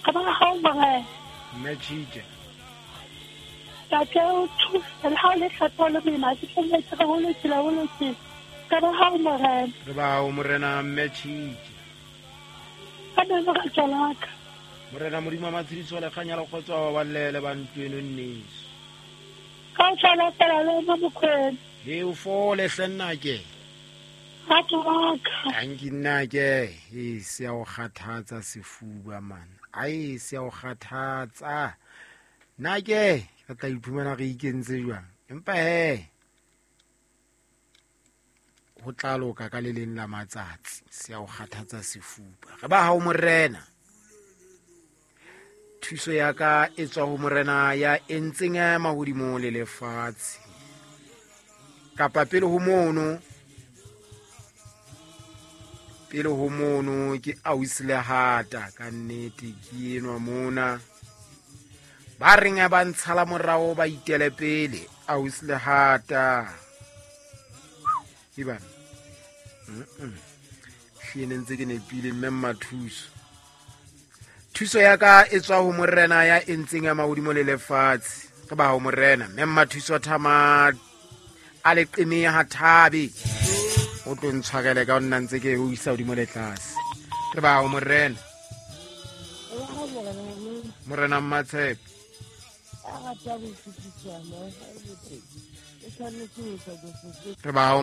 Re ba hao Morena. Mme Tshitje. Tate o thuse le ha o le thata o le boima ke tlametse re ho lokile ho lokile. Re ba hao Morena. Re ba hao Morena Mme Tshitje. Ka nna re tswela ka. Morena Modimo wa matshediso le kganya le kgotso wa babalele ba ntlo eno nneso. Ka o tshwana fela le wena Mokwena. He o fole hle nnake. Rato wa ka. Tanki nnake. E se ya o kgathatsa sefuba man. Ai se ya o kgathatsa. Nnake re tla iphumana re ikentse jwang. Empa he ho tla loka ka le leng la matsatsi se ya o kgathatsa sefuba. Re ba hao Morena. Thuso ya ka e tswa ho Morena ya entseng mahodimo le lefatshe. Kapa pele ho mono, pele ho mono ke ausi Lehata ka nnete ke enwa mona. Ba reng ba ntshala morao ba itele pele ausi Lehata. Ibana. Hlile ntse ke nepile mme Mmathuso. Thuso ya ka e tswa ho Morena ya entseng ya mahodimo le lefatshe. Re ba ho Morena mme Mmathuso Thama a le qeme ha thabe. O tlo ntshwarele ka nna ntse ke o isa hodimo le tlase. Re ba ho Morena. Morena Mmatshepe. Re ba ho